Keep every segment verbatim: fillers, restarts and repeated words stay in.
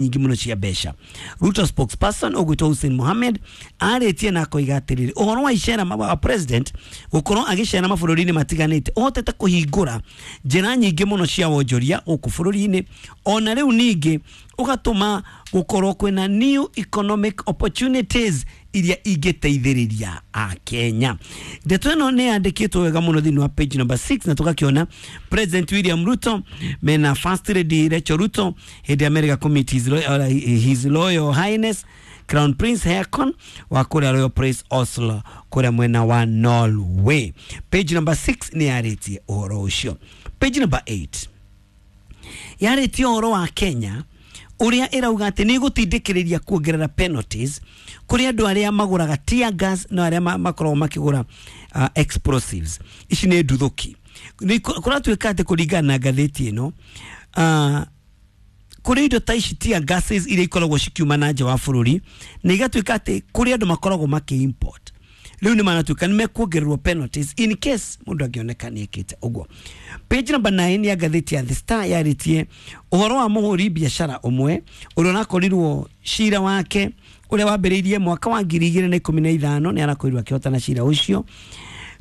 Nyingĩ mũno cia mbeca. Ruto spokesperson ũgwĩtwo Hussein Mohamed arĩtie na akoiga atĩrĩrĩ, ũhoro wa icera wa president gũkorwo agĩcera mabũrũri-inĩ matiganĩte ũhotete kũhingũra njĩra nyingĩ mũno cia wonjoria gũkũ bũrũri-inĩ, ona rĩu ningĩ ũgatũma gũkorwo kwĩna new economic opportunities iria ingĩteithĩrĩria Akenya. Ndeto ĩno nĩ yandĩkĩtwo wega mũno thĩinĩ wa page number six, na tũgakĩona President William Ruto mena First Lady Rachel Ruto hĩndĩ ya America commit his, uh, his Royal Highness Crown Prince Haakon wa kũrĩa Royal Prince Oslo kũrĩa mwena wa Norway. Page number six nĩ yarĩtie ũhoro ũcio. Page number eight yarĩtie ũhoro wa Kenya ũrĩa ĩrauga atĩ nĩ ĩgũtindĩkĩrĩria kuongerera penalties kũrĩ andũ arĩa magũraga tear gas na arĩa makoragwo makĩgũra uh, explosives. Ici nĩ nduthũki. Kũratuĩka atĩ kũringana na ngathĩti ĩno, uh, kũrĩ indo ta ici tear gases iria ikoragwo cikiuma na nja wa bũrũri, na igatuĩka atĩ kũrĩ andũ makoragwo makĩ import, rĩu nĩ maratuĩka nĩ mekuongererwo penalties in case mũndũ angĩoneka nĩ ekĩte ũguo. Page number nine ya ngathĩti ya The Star yarĩtie ũhoro wa mũhũri biacara ũmwe ũrĩa ũrakorirwo cira wake ũrĩa wambĩrĩirie mwaka wa ngiri igĩrĩ na ikũmi na ithano, nĩ arakorirwo akĩhotana cira ũcio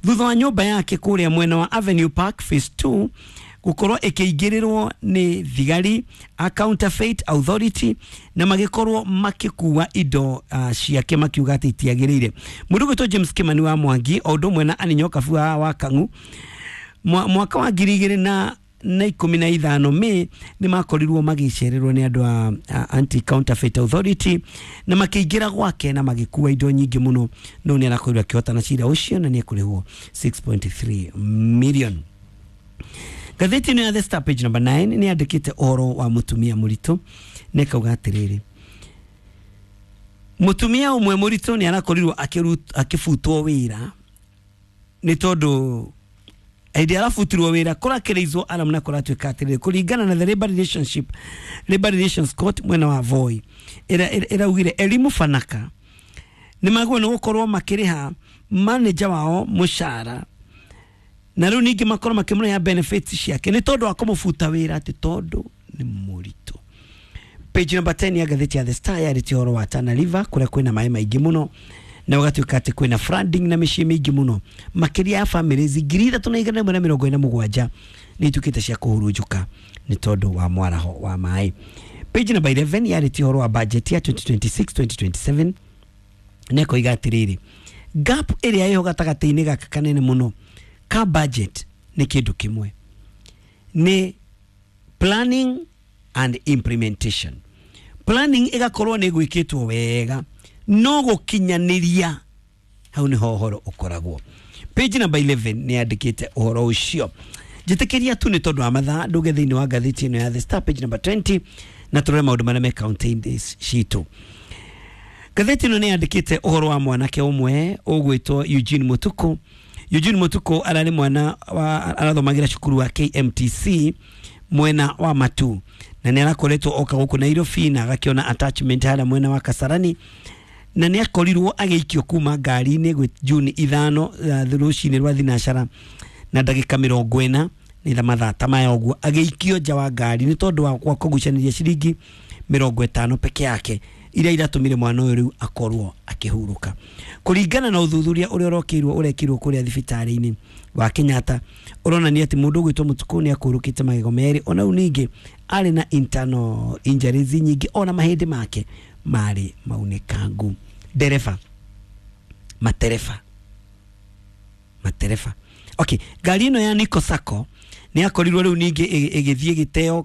thutha wa nyũmba yake kũrĩa mwena wa Avenue Park Phase two gũkorwo ĩkĩingĩrĩrwo nĩ thigari a Counterfeit Authority na magĩkorwo makĩkua indo uh, ciake makiuga atĩ itiagĩrĩire. Mũndũ ũgwĩtwo James Kimani wa Mwangi o ũndũ ũmwe na Annie Nyokabu wa, wa Kang'u mwaka wa ngiri igĩrĩ na na ikũmi na ithano May nĩ makorirwo magĩcererwo nĩ andũ a, a Anti Counterfeit Authority na makĩingĩra gwake na magĩkua indo nyingĩ mũno, no nĩ arakorirwo akĩhotana cira ũcio na nĩ ekũrĩhwo six point three million. Ngathĩti ĩno ya The Star page number nine nĩ yandĩkĩte ũhoro wa mũtumia mũritũ na ĩkauga atĩrĩrĩ, mũtumia ũmwe mũritũ nĩ arakorirwo akĩbutwo wĩra nĩ tondũ hĩndĩ arabutirwo wĩra kũrakĩrĩizwo aram na kũratuĩka atĩrĩrĩ, kũringana na the Labor Relationship Labor Relations Court mwena wa Voi ĩraugire Elimu Fanaka nĩ magwo nĩ gũkorwo makĩrĩha manager wao mũcara na rĩu ningĩ makorwo makĩmũrĩha benefits ciake nĩ tondũ wa kũmũbuta wĩra atĩ tondũ nĩ mũritũ. Page number ten ya ngathĩti ya The Star yarĩtie ũhoro wa Tana River kũrĩa kwĩna maĩ maingĩ mũno na ũgatuĩka atĩ kwĩna flooding na mĩciĩ mĩingĩ mũno makĩria ya families ngiri ithatũ na igana rĩmwe na mĩrongo ĩna mũgwanja nĩ ituĩkĩte cia kũhurunjũka nĩ tondũ wa mwaraho wa maĩ. Page number eleven yarĩtie ũhoro wa budget ya twenty twenty-six twenty twenty-seven na ĩkoiga atĩrĩrĩ, gap ĩrĩa ĩho gatagatĩ-inĩ gaka kanene mũno ka budget nĩ kĩndũ kĩmwe, nĩ planning and implementation. Planning ĩgakorwo nĩ gwĩkĩtwo wega no gũkinyanĩria hau nĩho ũhoro ũkoragwo. Page number eleven nĩ yandĩkĩte ũhoro ũcio. Njĩtĩkĩria tu nĩ tondũ wa mathaa ndũge thĩinĩ wa ngathĩti ĩno ya The Star page number twenty na tũrore maũndũ marĩa me kaunti-inĩ citũ. Ngathĩti ĩno nĩ yandĩkĩte ũhoro wa mwanake ũmwe ũgwĩtwo Eugene Mutuku. Eugene Mutuku ararĩ mwana wa arathomagĩra cukuru wa K M T C mwena wa Matu na nĩ arakoretwo oka gũkũ Nairobi na agakĩona attachment harĩa mwena wa Kasarani na nĩ akorirwo agĩikio kuma ngari-inĩ gwĩ Juni ithano rũcinĩ rwa thinacara na ndagĩka mĩrongo ĩna nĩ mathaa ta maya ũguo agĩikio nja wa ngari nĩ tondũ wa kũgucanĩria ciringi mĩrongo ĩtano peke yake iria iratũmire mwana ũyũ rĩu akorwo akĩhurũka. Kũringana na ũthuthuria ũrĩa ũrokĩirwo ũrekirwo kũrĩa thibitarĩ-inĩ wa Kenyatta ũronania atĩ mũndũ ũgwĩtwo Mutuku nĩ akũrũkĩte magego merĩ, ona rĩu ningĩ arĩ na internal injuries nyingĩ, ona mahĩndĩ make marĩ maunĩkangu. Ndereba matereba matereba okay, ngari ĩno ya Nico Sacco nĩ akorirwo rĩu ningĩ ĩgĩthiĩ gĩteo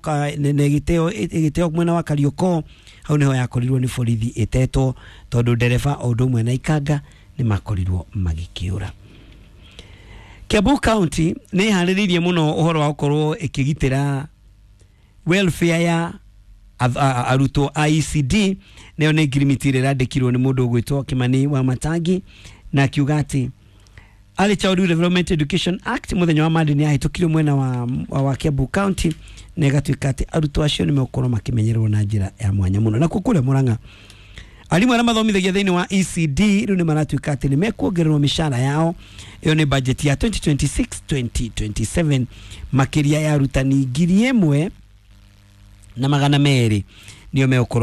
gĩteo ĩgĩteo mwena wa Kariokor, hau nĩho yakorirwo nĩ borithi ĩtetwo tondũ ndereba o ũndũ ũmwe na ikanga nĩ makorirwo magĩkĩũra. Kiambu County nĩ ĩharĩrĩirie mũno ũhoro wa gũkorwo ĩkĩgitĩra welfare ya arutwo a E C D, nayo nĩ ngirimiti ĩrĩa ĩrandĩkirwo nĩ mũndũ ũgwĩtwo Kimani wa Matangi na akiuga atĩ Early Childhood Development Education Act mũthenya wa Monday nĩ yahĩtũkirio mwena wa, wa, wa Kiambu County na ĩgatuĩka atĩ arutwo acio nĩ megũkorwo makĩmenyererwo na njĩra ya mwanya mũno. Nakuo kũrĩa Murang'a arimũ arĩa mathomithagia thĩinĩ wa E C D rĩu nĩ maratuĩka atĩ nĩ mekuongererwo mĩcara yao, ĩyo nĩ budget ya twenty twenty-six twenty twenty-seven, makĩria ya arutani ngiri ĩmwe na magana merĩ Nĩo megũkorwo.